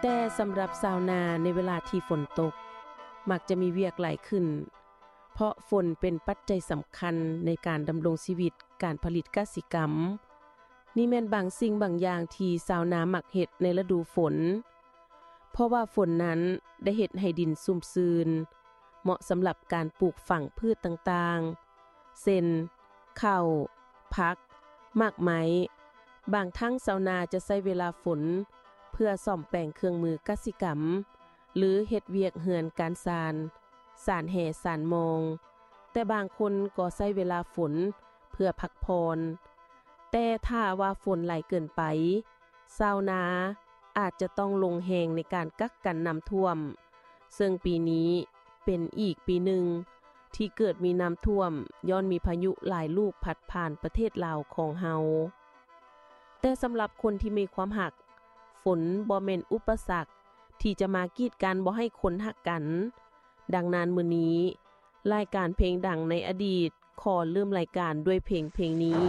ແຕ່ສຳລັບຊາວນາໃນເວລາທີ່ຝົນຕົກ ມັກຈະມີວຽກຫຼາຍຂຶ້ນ ເພາະຝົນເປັນປັດໄຈສຳຄັນໃນການດຳລົງຊີວິດການຜະລິດກະສິກຳ. ນີ້ແມ່ນບາງສິ່ງບາງຢ່າງທີ່ຊາວນາມັກເຮັດໃນລະດູຝົນ ເພາະວ່າຝົນນັ້ນໄດ້ເຮັດໃຫ້ດິນຊຸ່ມຊື່ນ ເໝາະສຳລັບການປູກຝັງພືດຕ່າງໆ ເຊັ່ນ ເຂົ້າ, ຜັກ, ໝາກໄມ້. ບາງຄັ້ງຊາວນາຈະໃຊ້ເວລາຝົນເພື່ອສ້ອມແປງເຄື່ອງມືກະສິກຳ ຫຼື ເຮັດວຽກເຮືອນການຊານ, ສານແຫ, ສານມອງ. ແຕ່ບາງຄົນກໍໃຊ້ເວລາຝົນເພື່ອພັກຜ່ອນ. ແຕ່ຖ້າວ່າຝົນຫຼາຍເກີນໄປ, ຊາວນາອາດຈະຕ້ອງລົງແຮງໃນການກັກກັນນ້ຳຖ້ວມ, ເຊິ່ງປີນີ້ເປັນອີກປີໜຶ່ງທີ່ເກີດມີນ້ຳຖ້ວມ ຍ້ອນມີພາຍຸຫຼາຍລູກພັດຜ່ານປະເທດລາວຂອງເຮົາ. ແຕ່ສຳລັບຄົນທີ່ມີຄວາມຮັກ, ຝົນບໍ່ແມ່ນອຸປະສັກທີ່ຈະມາກີດກັ້ນບໍ່ໃຫ້ຄົນຮັກກັນ. ດັ່ງນັ້ນ ມື້ນີ້ ລາຍການເພງດັງໃນອະດີດ ຂໍເລີ່ມລາຍການດ້ວຍເພງເພງນີ້.